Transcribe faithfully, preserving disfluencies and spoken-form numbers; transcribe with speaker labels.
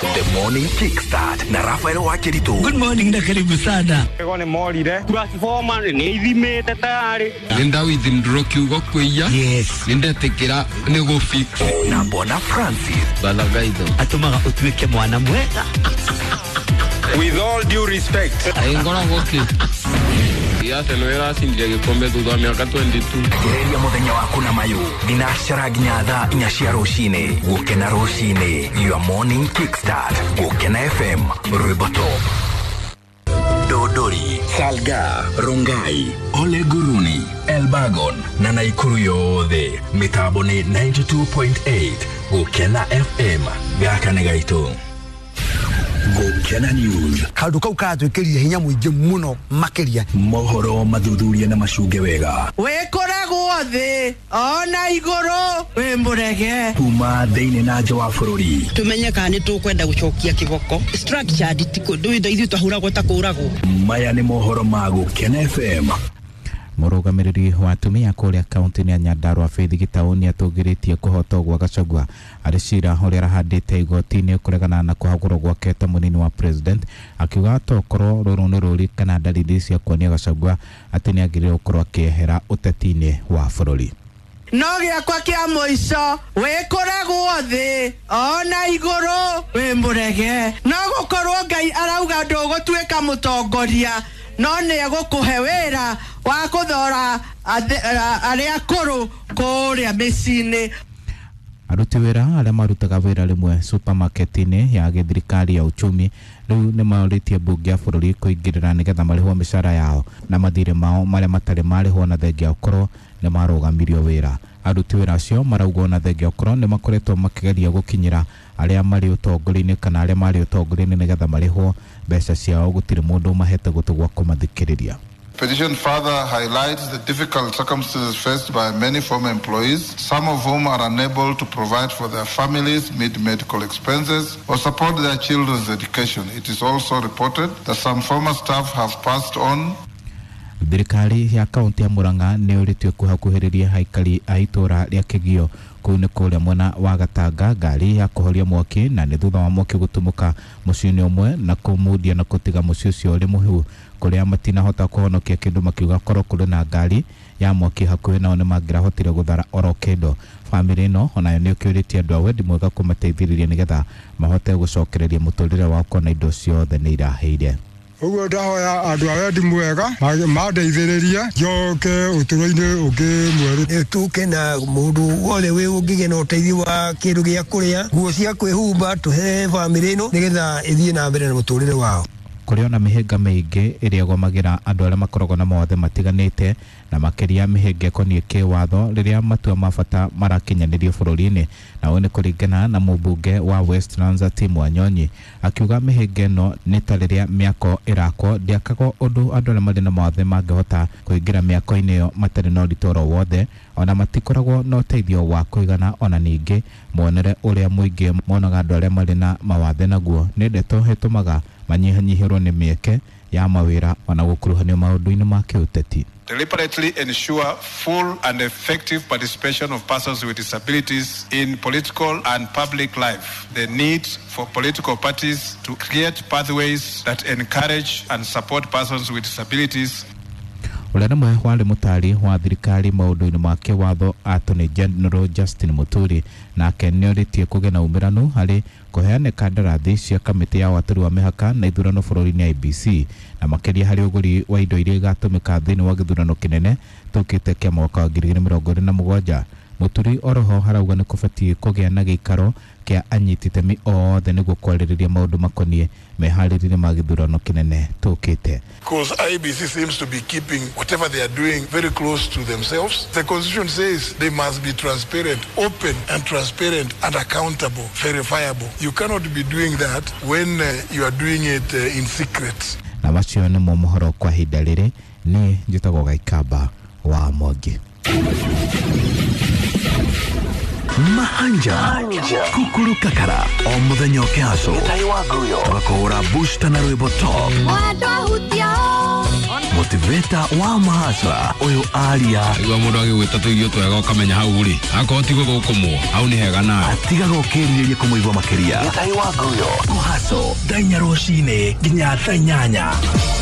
Speaker 1: The Morning Kickstart na Rafael Wakiritu.
Speaker 2: Good morning na karibu sana.
Speaker 3: Ego nĩ morire transformer nĩ ithimĩte tayari.
Speaker 4: Nĩ ndawithindũrwo kiugo kwĩia.
Speaker 2: Yes.
Speaker 4: Nĩ ndetikĩra nĩ gũ fix.
Speaker 1: Na Bona Francis.
Speaker 4: Balagaitho.
Speaker 2: Atũmaga ũtuĩke mwana mwega.
Speaker 3: With all due respect.
Speaker 4: Ngoragwo kĩ? Arsenal ĩracindire gĩkombe thutha wa mĩaka twenty-two.
Speaker 1: Gereria mũthenya waku na mayũ thinacara nginya thaa inya cia rũcinĩ. Gũkena rũcinĩ, your morning kickstart. Gũkena F M, rwĩmbo top. Dodori, Salga, Rongai, Ole Guruni, Elbagon na Naikuru yothe. Mĩtambo nĩ ninety-two point eight. Gũkena F M, gaka nĩ gaitũ. Gũkena News.
Speaker 5: Kaũndũ kau karatwĩkĩrire hinya mũingĩ mũno makĩria.
Speaker 1: Mohoro mathuthurie na macunge wega.
Speaker 6: Wĩkoragwo thĩ ona igũrũ wĩ mũrege.
Speaker 1: Kuma thĩinĩ na nja wa bũrũri.
Speaker 7: Tumenye kana nĩ tũkwenda gũcokia kĩboko. Structured ti kũndũ ithuĩ twahũragwo ta kũragwo.
Speaker 1: Maya nĩ mohoro ma Gũkena F M.
Speaker 8: Mũrũgamĩrĩri wa atumia kũrĩa kaunti-inĩ ya Nyandarua Faith Gitau nĩatũgĩrĩtie kũhotwo gwa Gachagua arĩ cira ũrĩa arahandĩte igoti-inĩ kũregana na kũhagũrwo gwake ta mũnini wa president, akiuga tokorwo rũrũ nĩ rũri kana dalili cia kuonia Gachagua atĩ nĩagĩrĩirwo gũkorwo akĩehera ũteti-inĩ wa bũrũri.
Speaker 6: No gĩakwa kĩa mũico wĩkoragwo thĩ ona igũrũ wĩ mũrege. No gũkorwo Ngai arauga ndũgũtuĩka mũtongoria no nĩ egũkũhe wĩra wa kũthora arĩa akũrũ kũrĩa mĩciĩ-inĩ.
Speaker 8: Aruti wĩra arĩa marutaga wĩra rĩmwe supermarket-inĩ ya gĩthirikari ya uchumi rĩu nĩ marĩtie mbunge ya bũrũri kũingĩrĩra nĩgetha marĩhwo mĩcara yao na mathirĩ mao marĩa matarĩ marĩhwo na thengia ũkorwo nĩ marũgamirio wĩra. Aruti wĩra acio maraugwo na thengia ũkorwo nĩ makoretwo makĩgeria gũkinyĩra arĩa marĩ ũtongoria-inĩ kana arĩa marĩ ũtongoria-inĩ nĩgetha marĩhwo mbeca ciao, gũtirĩ mũndũ ũmahete gũtũ gwa kũmathikĩrĩria.
Speaker 9: Petition further highlights the difficult circumstances faced by many former employees, some of whom are unable to provide for their families, meet medical expenses, or support their children's education. It is also reported that some former staff have passed on.
Speaker 8: Thirikari ya kaunti ya Murang'a nĩ ĩũrĩtio kũhakuhĩrĩria aikari a itũũra rĩa Kĩgio kũu nĩ kũrĩa mwena wa Gatanga ngari ya kũhoria mwaki, na nĩ thutha wa mwaki gũtumũka mũciĩ-inĩ ũmwe na kũmundia na kũtiga mũciĩ ũcio ũrĩ mũhiũ kũrĩa matinahota kũhonokia kĩndũ, makiuga korwo kũrĩ na ngari ya mwaki hakuhĩ nao nĩ mangĩrahotire gũthara oro kĩndũ. Bamĩrĩ ĩno onayo nĩ ĩkĩũrĩtie andũ a wendi mwega kũmateithĩrĩria nĩgetha mahote gũcokereria mũtũrĩre wao kona indo ciothe nĩ irahĩire.
Speaker 10: Ũguo ndahoya andũ a wendi mwega mandeithĩrĩrie njoke ũtũũro-inĩ ũngĩ mwerũ.
Speaker 5: Tũke na mũndũ wothe wĩ ũngĩgĩa na ũteithio wa kĩndũ gĩa kũrĩa, nguo cia kwĩhumba, tũhe bamĩrĩ ĩno nĩgetha ĩthiĩ na mbere na mũtũrĩre wao.
Speaker 8: Kũrĩ ona mĩhĩnga mĩingĩ ĩrĩa ĩgomagĩra andũ arĩa makoragwo na mawathe matiganĩte, na makĩria mĩhĩnga ĩkoniĩ kĩwatho rĩrĩa matua ma bata marakinyanĩrio bũrũri-inĩ, na ũũ nĩ kũringana na mũmbunge wa Westlands Tim Wanyonyi akiuga mĩhĩnga ĩno nĩ ta rĩrĩa mĩako ĩrakwo ndĩakagwo ũndũ andũ arĩa marĩ na mawathe mangĩhota kũingĩra mĩako-inĩ ĩyo matarĩ na ũritũ oro wothe, ona matikoragwo na ũteithio wa kũigana. Ona ningĩ muonere ũrĩa mũingĩ monaga andũ arĩa marĩ na mawathe naguo nĩ ndeto ĩtũmaga manyihanyihĩrwo nĩ mĩeke ya mawĩra ona gũkuruhanio maũndũ-inĩ ma kĩũteti.
Speaker 9: Deliberately ensure full and effective participation of persons with disabilities in political and public life. The need for political parties to create pathways that encourage and support persons with disabilities.
Speaker 8: Ũrĩa nĩmwe warĩ mũtari wa thirikari maũndũ-inĩ ma kĩwatho Attorney General Justin Muturi nake nĩorĩtie kũgĩa na umĩranu harĩ kũheana kandarathi cia kamĩtĩ ya watũri wa mĩhaka na ithurano bũrũri-inĩ I B C, na makĩria harĩ ũgũri wa indo iria igatũmĩka thĩinĩ wa gĩthurano kĩnene tũkĩte kĩa mwaka wa ngiri igĩrĩ mĩrongo ĩrĩ na mũgwanja. Muturi oroho harauga nĩ kũbatiĩ kũgĩa na gĩikaro kĩa anyiti itemi othe nĩguo kwarĩrĩria maũndũ makoniĩ meharĩrĩria ma gĩthurano kĩnene tũkĩte.
Speaker 9: Because I B C seems to be keeping whatever they are doing very close to themselves. The constitution says they must be transparent, open and transparent and accountable, verifiable. You cannot be doing that when uh, you are doing it uh, in secret.
Speaker 8: Na macio nĩmo mohoro kwa ihinda rĩrĩ. Niĩ njĩtagwo Gaikamba wa Mwangi.
Speaker 1: Mahanja Kukuru Kakara o muthenya ũkĩhaco tũgakũhũra booster na rwĩmbo top. Motivator wa mahasra ũyũ aria
Speaker 4: Igua mũndũ agĩgwĩta tũirio twega ũkamenya hau rĩ akorwo ti gũthũkũmwo hau nĩ hega nawe
Speaker 1: atigaga ũkĩrirĩria kũmũigua makĩria. Gĩtahi wa Nguyo kũhaco thaa inya rũcinĩ nginya thaa inyanya.